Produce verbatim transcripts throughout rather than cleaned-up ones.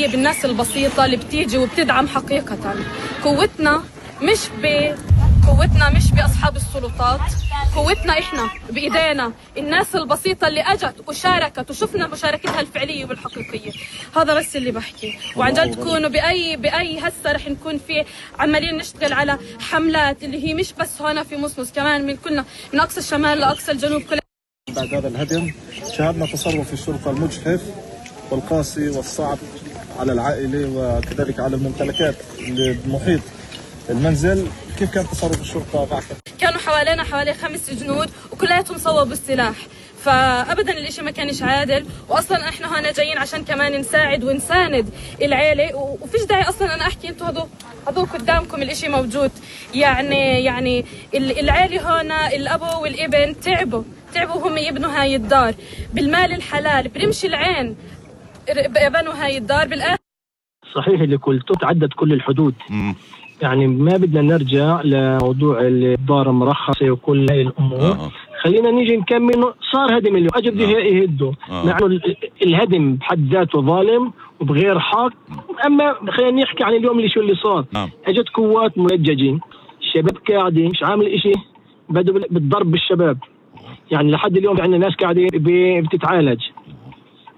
هي بالناس البسيطة اللي بتيجي وبتدعم حقيقة. قوتنا مش ب قوتنا مش بأصحاب السلطات، قوتنا إحنا بإيدينا، الناس البسيطة اللي أجت وشاركت وشفنا مشاركتها الفعلية والحقيقية. هذا بس اللي بحكي. وعن جد تكونوا بأي بأي هسه رح نكون في عمالين نشتغل على حملات اللي هي مش بس هنا في مصمص، كمان من كلنا من أقصى الشمال لأقصى الجنوب. كل بعد هذا الهدم شاهدنا تصرف الشرطة المجحف والقاسي والصعب على العائلة وكذلك على الممتلكات المحيط المنزل. كيف كان تصرف الشرطة معكم؟ كانوا حوالينا حوالي خمس جنود وكلياتهم صوبوا السلاح، فأبدا الاشي ما كانش عادل. وأصلا احنا هنا جايين عشان كمان نساعد ونساند العيلة، وفيش داعي أصلا أنا أحكي انتوا هذو هذو قدامكم الاشي موجود. يعني يعني العيلة هنا الأبو والابن تعبوا تعبوا هم يبنوا هاي الدار بالمال الحلال، برمش العين بنوا هاي الدار. بالآخر صحيح اللي قلته تعدت كل الحدود. م. يعني ما بدنا نرجع لموضوع الدار المرخصة وكل هاي الأمور. آه. خلينا نيجي نكمل. صار هدم اليوم أجد آه. يهدوا آه. مع إنه الهدم بحد ذاته ظالم وبغير حق. أما خلينا نحكي عن اليوم اللي شو اللي صار. آه. أجت قوات منججين، الشباب قاعدين مش عامل إشي، بدوا بالضرب بالشباب. يعني لحد اليوم عندنا ناس قاعدين بتتعالج،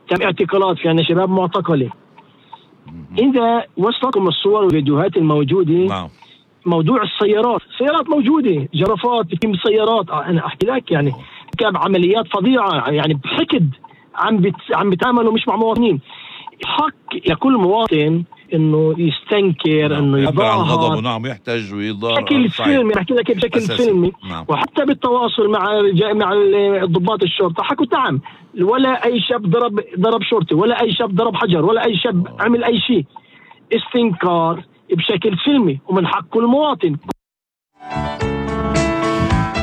تم اعتقالات في عندنا شباب معتقلين. إذا وصلكم الصور والفيديوهات الموجودة نعم. موضوع السيارات، سيارات موجودة، جرافات في سيارات. أنا أحكي لك يعني كان عمليات فظيعة، يعني بحقد عم بت... عم بيتعاملوا مش مع مواطنين. حق لكل مواطن إنه يستنكر نعم. إنه يظاهر، نعم، يحتج ويظاهر بشكل فيلمي. بحكي لك بشكل أساسي. فيلمي نعم. وحتى بالتواصل مع مع ضباط الشرطة حكوا نعم، ولا أي شاب ضرب ضرب شرطي، ولا أي شاب ضرب حجر، ولا أي شاب عمل أي شيء. استنكار بشكل سلمي ومن حق المواطن.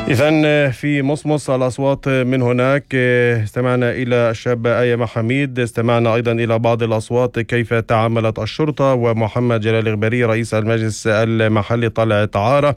إذن في مصمص الأصوات من هناك. استمعنا إلى الشابة آية محميد، استمعنا أيضا إلى بعض الأصوات كيف تعاملت الشرطة، ومحمد جلال الغبري رئيس المجلس المحلي طلعت عارة.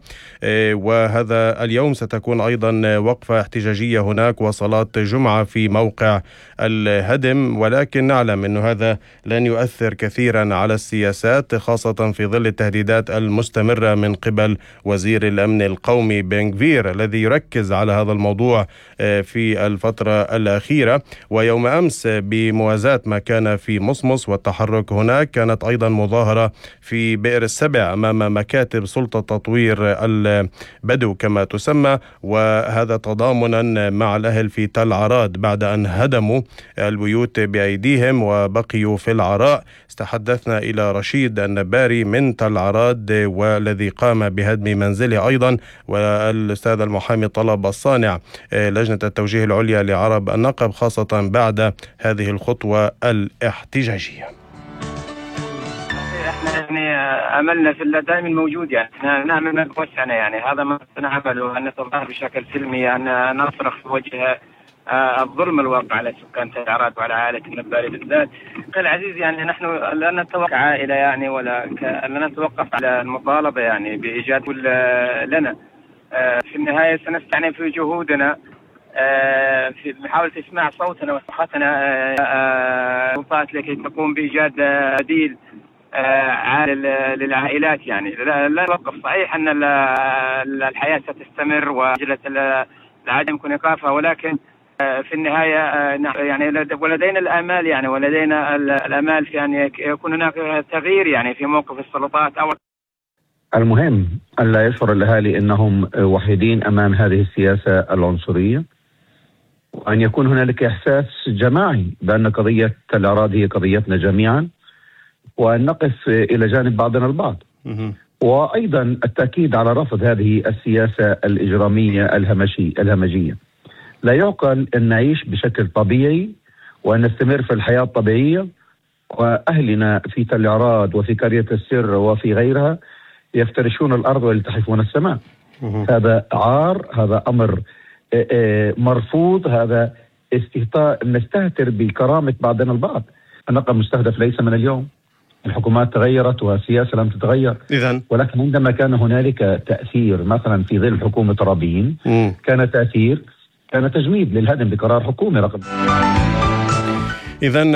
وهذا اليوم ستكون أيضا وقفة احتجاجية هناك وصلاة جمعة في موقع الهدم، ولكن نعلم أن هذا لن يؤثر كثيرا على السياسات، خاصة في ظل التهديدات المستمرة من قبل وزير الأمن القومي بن غفير الذي يركز على هذا الموضوع في الفترة الأخيرة. ويوم أمس بموازاة ما كان في مصمص والتحرك هناك، كانت أيضا مظاهرة في بئر السبع أمام مكاتب سلطة تطوير البدو كما تسمى، وهذا تضامنا مع الأهل في تل عراد بعد أن هدموا البيوت بأيديهم وبقيوا في العراء. استحدثنا إلى رشيد النباري من تل عراد والذي قام بهدم منزله أيضا، والأستاذ المحامي طلب الصانع لجنة التوجيه العليا لعرب النقب، خاصة بعد هذه الخطوة الاحتجاجية. احنا يعني املنا في الله دائما موجود، يعني احنا نعمل ما بوسعنا، يعني هذا ما نعمله، ان نتظاهر بشكل سلمي، ان نصرخ في وجه الظلم الواقع على سكان تل عراد وعلى عائلة النباري بالذات. اخي العزيز، يعني نحن لا نتوقف عائلة يعني ولا لا نتوقف على المطالبة يعني بإيجاد لنا. في النهاية سنستعين في جهودنا في محاولة إسماع صوتنا وصرختنا لكي تقوم بإيجاد بديل عادل للعائلات. يعني لا نوقف. صحيح أن الحياة ستستمر وعجلة العدم يكون إيقافها، ولكن في النهاية يعني ولدينا الآمال يعني ولدينا الآمال في أن يكون هناك تغيير يعني في موقف السلطات. أو المهم أن لا يشعر الأهالي أنهم وحيدين أمام هذه السياسة العنصرية، وأن يكون هنالك إحساس جماعي بأن قضية تل عراد هي قضيتنا جميعا، وأن نقف إلى جانب بعضنا البعض. وأيضا التأكيد على رفض هذه السياسة الإجرامية الهمشي الهمجية. لا يعقل أن نعيش بشكل طبيعي وأن نستمر في الحياة الطبيعية وأهلنا في تل عراد وفي قرية السر وفي غيرها يفترشون الأرض ويلتحفون السماء. هذا عار، هذا أمر مرفوض، هذا استهتار، نستهتر بكرامة بعضنا البعض. النقب مستهدف ليس من اليوم، الحكومات تغيرت والسياسة لم تتغير. إذن. ولكن عندما كان هنالك تأثير مثلا في ظل حكومة رابين مم. كان تأثير، كان تجميد للهدم بقرار حكومي رقم. إذن